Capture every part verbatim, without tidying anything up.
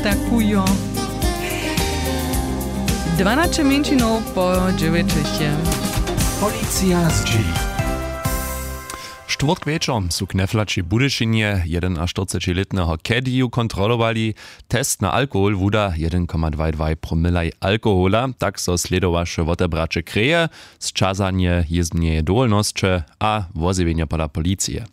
Takujo. Dwanaće mjeńšinow po dźewjećich je. Policija zdźěli. Štwórtk wječor su knefla při budyšinje jedynaštyrcećilětneho kediju kontrolowali. Test na alkohol wuda jedyn koma dwaj dwaj promilaj alkohola, tak so slědowaše wotebraće kreje, sćazanje jězbneje dowolnosće a wozjewjenje pola policije.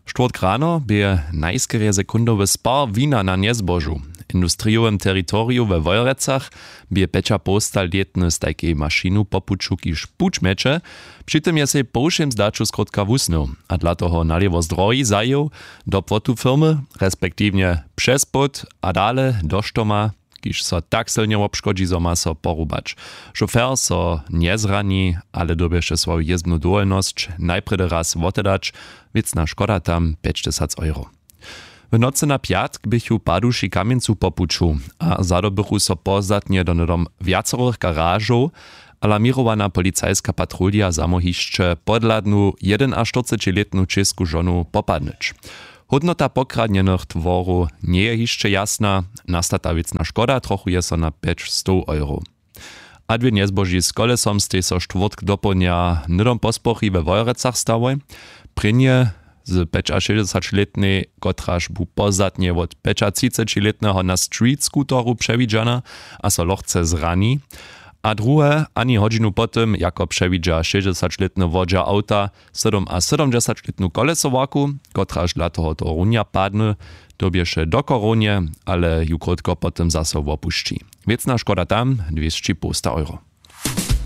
Štwórtk rano bě najskerje sekundowy spar wina na njezbožu w industrijowym teritoriju we wojerecach. Bě pjećapołstalětny z tajkej mašinu po puću kiž puć mjeće. Při tym je sej po wšěm zdaću skrótka wusnył a dla toho nalěwo z drohi zajěł do płotu firmy, respektiwnje přez płót a dale do štoma, kiž so tak sylnje wobškodźi zo ma so porubać. Šofer so njezrani, ale dyrbješe swoju jězbnu dowolnosć najprjedy raz wotedać. Wěcna škoda tam pjećtysac euro. W nocy na pjatk běchu paduši kamjencu po puću a zadobychu so pozdatnje do hnydom wjacorych garažow. Alarměrowana policajska patrulja zamohišće podhladnu jedynaštyrcećilětnu čěsku žonu popadnyć. Hódnota pokradnjenych tworow njeje hišće jasna. Nastata wěcna škoda trochuje so na pjećstow euro. A dwě njezboži z kolesom stej so štwórtk dopołdnja hnydom posporchi we wojerecach stałoj. Prěnje z pjećašěsćdźesaćlětnej, kotraž bu pozdatnje wot pjećatřicećilětneho na street scooteru přewidźana a so lochce zrani. A druhe ani hodźinu po tym jako přewidźa šěsćdźesaćlětny wodźa awta sydomasydomdźesaćlětnu kolesowarku, kotraž dla tohoto runja padny, dyrbješe do korownje, ale ju krótko po tym zaso wopušći. Wěcna škoda tam dwěsći połsta euro.